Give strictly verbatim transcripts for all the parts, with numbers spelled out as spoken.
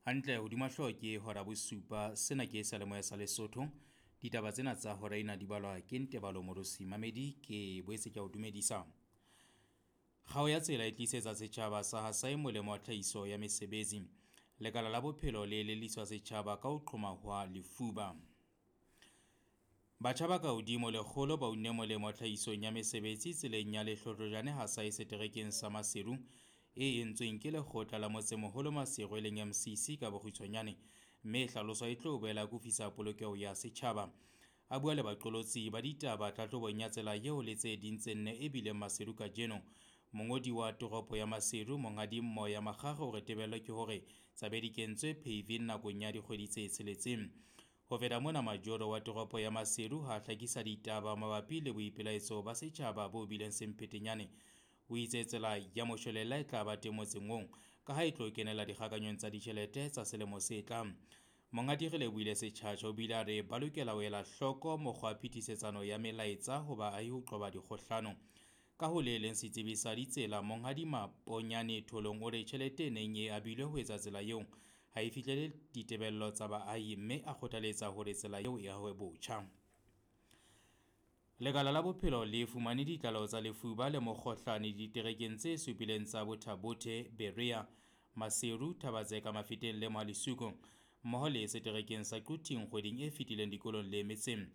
Hantle hodima hlooho ke hora bosupa, sena ke seyalemoya sa Lesotho. Ditaba tsena tsa hora ena di balwa ke Ntebalo Morosi Mamedi, ke boetse ke a o dumedisa. Kgao ya tsela e tlisetsa setjhaba sa Hasae molemo wa tlhahiso ya mesebetsi. Lekala la bophelo le elelliswa setjhaba ka ho qhoma hwa lefuba. Batjha ba ka hodimo lekgolo ba unne molemo tlhahisong ya mesebetsi tseleng ya Lehlohlojane Hasae seterekeng sa Maseru e entsweng ke lekgotla la motsemoholo Maseru e leng M C C ka bokgutshwanyane, mme e hlaloswa e tlo boela akofisa polokeho ya setjhaba. A bua le baqolotsi ba ditaba tlhahlobong ya tsela eo le tse ding tse nne e bileng Maseru kajeno. Mongodi wa toropo ya Maseru Monghadi Moya Makgakge o re tebello ke hore tsa be di kentswe paving nakong ya dikgwedi tse tsheletseng. Ho feta mona, majoro wa toropo ya Maseru ha hlakisa ditaba mabapi le boipelaetso ba setjhaba bo bileng semphetenyane. O itse tsela ya moshwelella e tla ba teng motseng oo ka ha e tlo kenela dikgakanyong tsa ditjhelete tsa selemo se tlang. Monghadi Relebohile Setjhatjha o bile a re ba lokela ho ela hloko mokgwa wa phetisetsano ya melaetsa ho baahi ho qoba dikgohlano. Ka ho le leng setsebi sa ditsela Monghadi Maponyane Tholong o re tjhelete e neng e abilwe ho etsa tsela eo ha e fihlele ditebello tsa baahi, mme a kgothaletsa hore tsela eo e ahwe botjha. Lekala la bophelo le fumane ditlaleho tsa lefuba le mokgohlane diterekeng tse supileng tsa Botha-Bothe, Berea, Maseru, Thaba-Tseka, Mafeteng le Mohale'Shoek, mmoho le seterekeng sa Quthing kgweding e fetileng dikolong le metseng.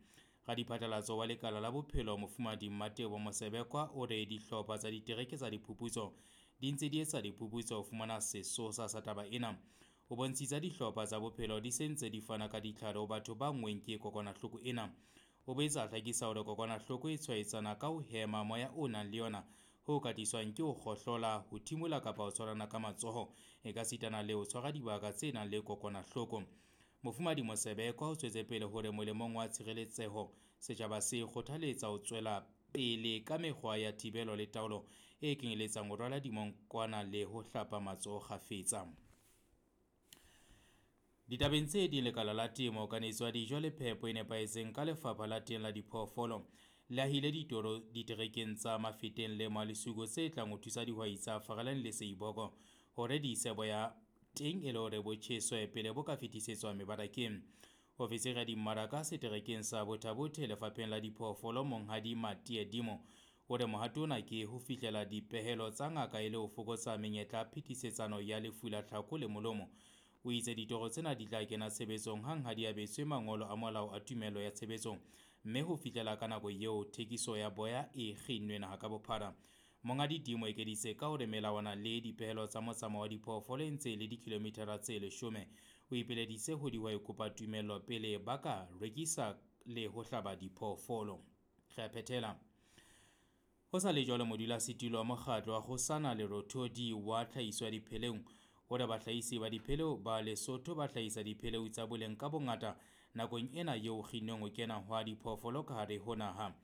Radiphatlalatso wa lekala la bophelo Mofumahadi Mmatebo Mosebekwa o re dihlopha tsa ditereke tsa diphuputso di ntse di etsa diphuputso ho fumana sesosa sa taba ena. O bontshitse dihlopha tsa bophelo di se ntse di fana ka ditlhare ho batho ba nngweng ke kokwanahloko ena. O boetse a hlakisa hore kokwanahloko e tshwaetsana ka ho hema moya o nang le yona, ho ka tliswang ke ho kgohlola, ho thimola kapa ho tshwarana ka matsoho, e ka sitana le ho tshwara dibaka tse nang le kokwanahloko. Mofumahadi Mosebekwa o tswetse pele hore molemong wa tshireletseho, setjhaba se kgothaletsa ho tswela pele ka mekgwa ya thibelo le taolo e kenyeletsang ho rwala dimonkwana le ho hlapa matsoho kgafetsa. Ditabeng tse ding, lekala la temo, kanetso ya dijo le phepo e nepahetseng ka lefapha la teng la diphoofolo le ahile ditoro diterekeng tsa Mafeteng le Mohale'Shoek tse tlang ho thusa dihwai tsa Farelane le Seiboko hore di ise boya teng e le hore bo tjheswe pele bo ka fetisetswa mebarakeng. Ofisiri ya dimmaraka seterekeng sa Botha-Bothe lefapheng la diphoofolo Monghadi Matie Dimo o re mohato ona ke ho fihlela dipehelo tsa ngaka e le ho fokotsa menyetla ya phetisetsano ya lefu la tlhako le molomo. O itse ditoro tsena di tla kena tshebetsong hang ha di abetswe mangolo a molao a tumello ya tshebetso, mme ho fihlela ka nako eo thekiso ya boya e kginnwe naha ka bophara. Monghadi Dimo ekeditse ka hore melawana le dipehelo tsa motsamao wa diphoofolo e ntse e le dikilomithara tse leshome. O ipileditse ho dihwai kopa tumello pele ba ka rekisa le ho hlaba diphoofolo. Re a phethela. Ho sa le jwalo, modulasetulo wa mokgatlo wa Kgosana Lerothodi wa tlhahiso ya dipheleu o re bahlahisi ba dipheleu ba Lesotho ba hlahisa dipheleu tsa boleng ka bongata nakong ena eo kginnweng ho kena hwa diphoofolo ka hare ho naha.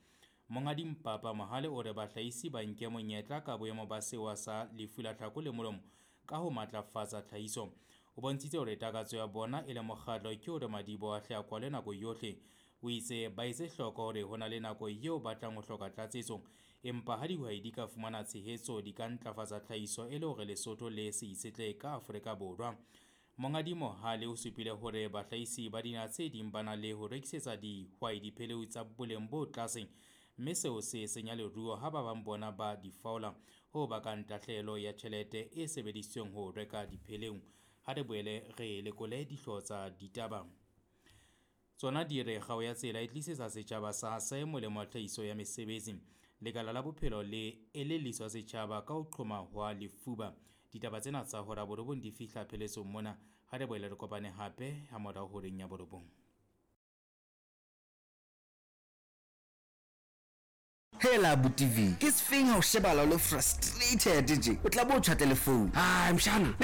Monghadi Mpapa Mohale o re bahlahisi ba nke monyetla ka boemo ba sewa sa lefu la tlhako le molomo ka ho matlafatsa tlhahiso. O bontshitse hore takatso ya bona e le mokgatlo ke hore madiboho a hle a kwalwe nako yohle. O itse ba etse hloko hore ho na le nako eo ba tlang ho hloka tlatsetso, empa ha dihwai di ka fumana tshehetso di ka ntlafatsa tlhahiso e le hore Lesotho le se itshetlehe ka Afrika Borwa. Monghadi Mohale o supile hore bahlahisi ba dinaha tse ding ba na le ho rekisetsa dihwai dipheleu tsa boleng bo tlase, mme seo se senya leruo ha ba bang bona ba di faola, ho bakang tahlehelo ya tjhelete e sebedisitsweng ho reka dipheleu. Ha re boele re lekole dihlooho tsa ditaba. Tsona di re kgao ya tsela e tlisetsa setjhaba sa Hasae molemo wa tlhahiso ya mesebetsi. Lekala la bophelo le elelliswa setjhaba ka ho qhoma hwa lefuba. Ditaba tsena tsa hora borobong di fihla pheletsong mona. Ha re boele re kopane hape ha morao horeng ya borobong. Hela abuti V, ke sefeng ha o shebala o le frustrated tje? O tla bo o tjhatle le phone. Hai mshana,